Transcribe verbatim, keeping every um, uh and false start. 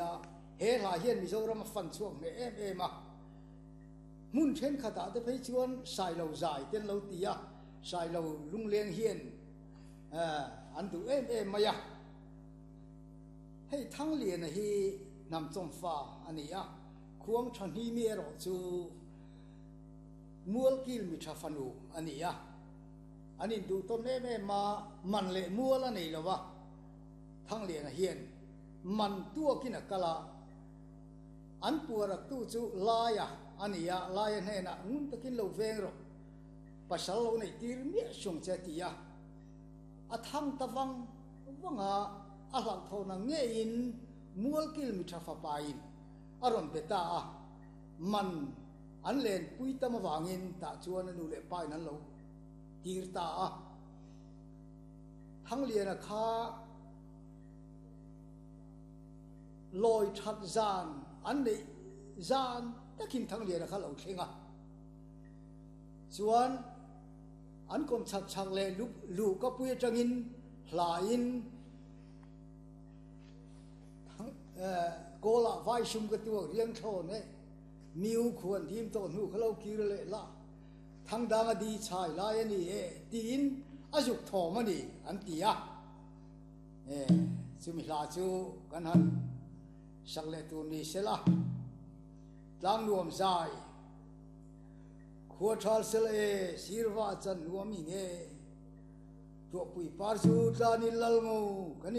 a, he hla hian Mizoram a fan chhuak hneh em em a. Hmun thenkhatah te phei chuan Sailo zai te an lo ti a, Sailo lungleng hian an duh em em mai a. Hei Thangliana hi hnam chawmfa a ni a, Khuang Thahnimi erawh chu Mualkil mi tha fanu a ni a. An induh tawn em em a, man leh mual a nei lo va, Thangliana hian man tuakin a kal a, an puaraktu chu Laia a ni a, Laia hnenah ngun takin lo veng rawh, pasal lo neih tir miah sung che a ti a, a thang ta vang vang a, a hlauhthawhna ngeiin Mualkil mi tha fapain a rawn be ta a, man an lenpui tam avangin tah chuan a nu leh pain an lo tir ta a. Thangliana kha lawi that zan an neih zan takin Thangliana kha lo thleng a, chuan an kawm chak chak leh luh ka pui atangin hlain Kawlah vaisum ka tuak riang thlawn e, miu khuan dim tawh hnu kha lo kir leh la, thangdang a di chhai lai a ni e tiin a zuk thawm a ni an ti a. E, chumi hla chu kan han sak leh tur ni sela, Tlangnuam zai khua thal sela e, sirva chan nuam in e, tuahpui par chu tlanin lal ngo kan